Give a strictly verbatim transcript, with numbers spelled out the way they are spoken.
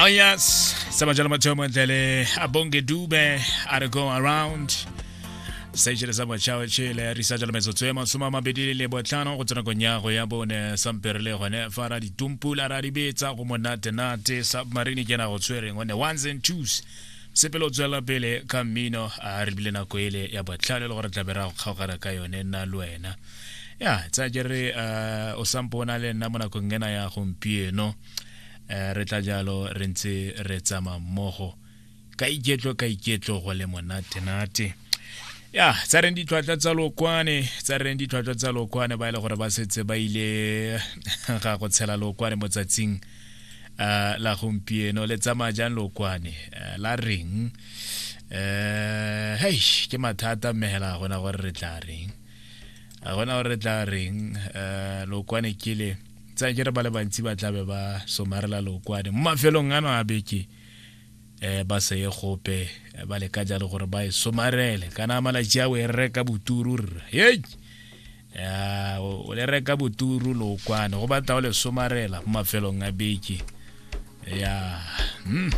Oh yes, sama jalo mathomo ntle Abonge Dube a re "Go Around". Seitšhele sa motšhao tšhele re isa jalo metsotso e masome a mabedi le botlhano go tsena kong ya go ya bone. Sampere le gone fa ra ditumpula ra di betsa go monatenate. Submarine ke na go tshwereng one ones and twos, sepele o tswela pele ka mmino. A re bile nako ele ya botlhano e le gore tlabe ra go kgaogana ka yone nna le wena. Ya tsa ke re eh, o sampo o na le nna mo nakong ena ya gompieno. eh, re tla jalo re ntse re tsamaya mmogo ka iketlo, ka iketlo, go le monatenate. Ya tsa reng ditlhwatlhwa tsa lokwane, tsa reng ditlhwatlhwa tsa lokwane, ba e le gore ba setse ba ile ga go tshela lokwane mo tsatsing uh, la gompieno. Le tsamaya jang lokwane? uh, la reng? uh, hei, ke mathata mme hela ga gona gore re tla reng, ga gona gore re tla reng. uh, lokwane ke le tsa ke re ba le bantsi ba tlabe ba somarela lokwane mo mafelong ano a beke, eh ba se ye gope, eh, ba leka jalo gore ba e somarele. Kana malatsi a o e reka boturu rra, hei ya o o le reka boturu lokwane, go batla o le somarela mo mafelong a beke ya mm.